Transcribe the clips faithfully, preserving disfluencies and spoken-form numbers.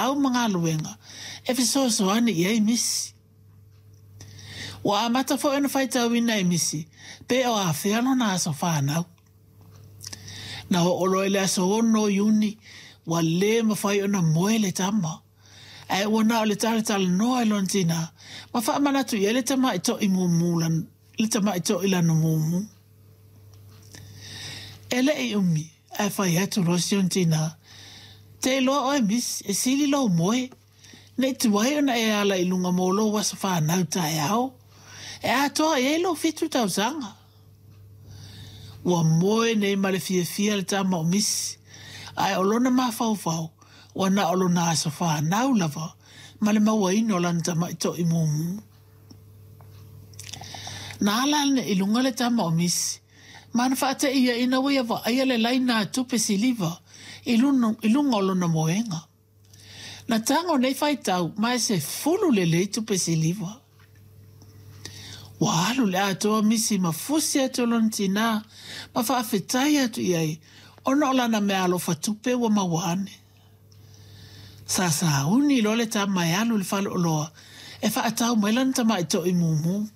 feau ma galuega e fesoasoani i ai Misi. Ua amata foi ona faitauina e Misi pe o afea lona aso fanau. Na oo loa i le aso ono o Iuni, ua lē mafai ona moe le tama, ae ua na o le talatalanoa i lona tinā ma faamanatu i ai le tamaʻi toʻi mumu le tamaʻi toʻi lana mumu. E leʻi umi ae fai atu loa si ona tinā, Te iloa oe Misi, e sili lou moe, nei tuai ona e ala i luga mo lou aso fanau taeao, e atoa i ai lou fitu tausaga. Ua moe nei ma le fiafia le tama o Misi, ae o lona mafaufau ua na o lona aso fanau lava ma le mauaina o lana tamaʻi toʻi mumu. Na ala ane i luga le tama o Misi, ma na faateʻi ia ina ua ia vaaia le laina a tupe siliva i luga, i luga o lona moega. Na tago nei faitau ma e sefulu lelei tupe siliva. Ua alu le atoa Misi ma fusi atu i lona tinā ma faafetai atu i ai ona o lana meaalofa tupe ua maua ane. Sa sauni loa le tama e alu i le faleoloa e faatau mai lana tamaʻi toʻi mumu.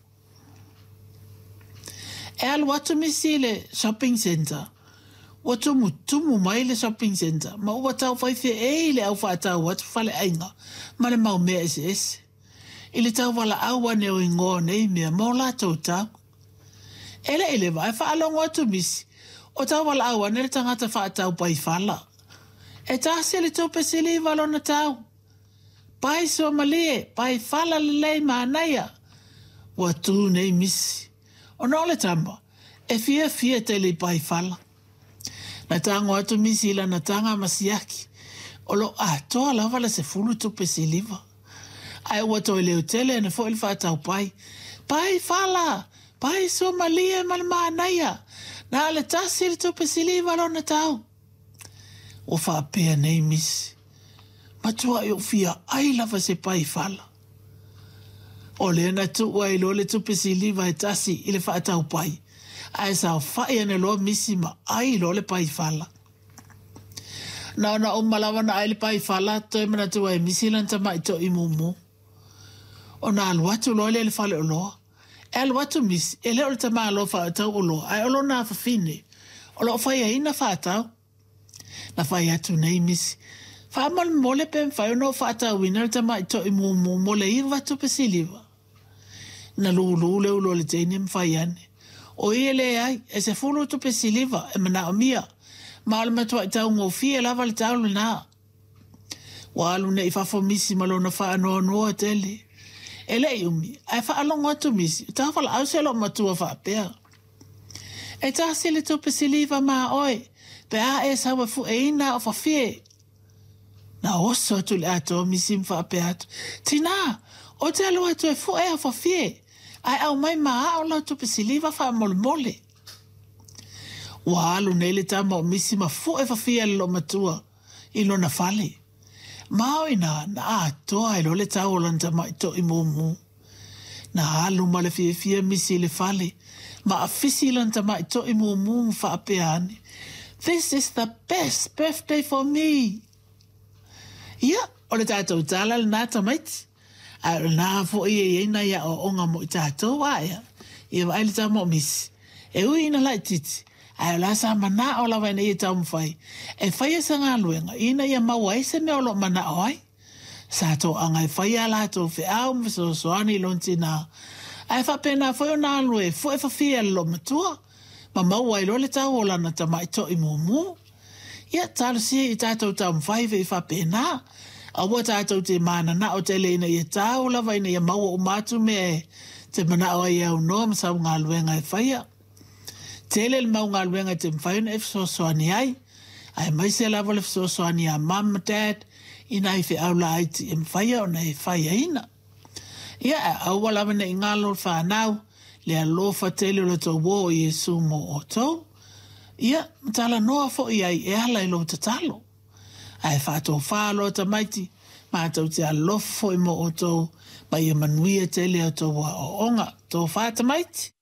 E alu atu Misi i le shopping centre, ua tumutumu mai le shopping centre ma ua taufai feʻei le au faatau atu faleaiga ma le mau mea eseese. I le tauvalaau ane o igoa o nei mea ma o latou tau. E leʻi leva ae faalogo atu Misi o tauvalaau ane le tagata faatau paifala. E tasi le tupe siliva lona tau. Pai suamalie, paifala lelei manaia. Ua tū nei Misi. Ona o le tama, e fiafia tele i paifala. Na tago atu Misi i lana taga ma siaki, o loo atoa lava le sefulu tupe siliva. Ae ua toe leotele ane foi le faatau pai. Paifala! Pai suamalie ma le manaia! Na o le tasi le tupe siliva lona tau. Ua faapea nei Misi, Matuaʻi ou fia ʻai lava se paifala. O lea na tuu ai loa le tupe siliva e tasi i le faatau pai, ae saofaʻi ane loa Misi ma ʻai loa le paifala. Na ona uma lava ona ʻai le paifala, toe manatua e Misi lana tamaʻi toʻi mumu. Ona alu atu loa lea i le faleoloa. E alu atu Misi, e le o le tamāloa faatau oloa, ae o lona afafine, o loo faiaina faatau. Na fai atu nei Misi, Faamolemole pe mafai ona ou faatauina le tamaʻi toʻi mumu mo le iva tupe siliva. Na lūlū le ulu o le teine ma fai ane, Oi e leai, e sefulu tupe siliva e manaomia, ma o le matuaʻi taugofie lava le tau lenā. Ua alu nei i fafo Misi ma lona faanoanoa tele. E leʻi umi, ae faalogo atu Misi, o tafalaau se loomatua faapea, E tasi le tupe siliva ma oe, pe a e sau e fuʻeina aʻo fafie. Na oso atu le atoa Misi ma faapea atu, Tinā, ou te alu atu e fuʻe aʻo fafie, ae aumai ma aʻo lau tupe siliva faamolemole. Ua alu nei le tama o Misi ma fuʻe fafie a le loomatua i lona fale. Ma o inā, na atoa ai loa le tau o lana tamaʻi toʻi mumu. Na alu ma le fiafia Misi i le fale, ma afisi i lana tamaʻi toʻi mumu ma faapea ane, This is the best birthday for me! Ia, o le tatou tala lenā tamaiti, ae o lenā foi e i ai nai aoaoga mo i tatou aea, ia vaai le tama o Misi. E ui ina laitiiti, ae o la sa manao lava ina ia taumafai e faia se galuega ina ia maua ai se mea o loo manao ai. Sa toaga e faia a latou feau ma fesoasoani i lona tinā, ae faapena foi ona alu e fuʻe fafie a le loomatua, ma maua ai loa le tau o lana tamaʻi toʻi mumu. Ia, talosia i tatou taumafai vei faapena. Aua tatou te mananao tele ina ia tau lava ina ia maua uma atu mea e te manao ai e aunoa ma sau galuega e faia. Tele le mau galuega e te mafai ona e fesoasoani ai, aemaise lava le fesoasoani iā Mum ma Dad i nai feau laiti e mafai ona e faiaina. Ia, ae aua lava nei galo le fanau, le alofa tele o le tou uō o Iesu mo outou. Ia, ma talanoa foi ai e ala i lou tatalo. Ae faatofā loa tamaiti, matou te alofa foi mo outou, ma ia manuia tele a outou aoaoga. Tofā tamaiti!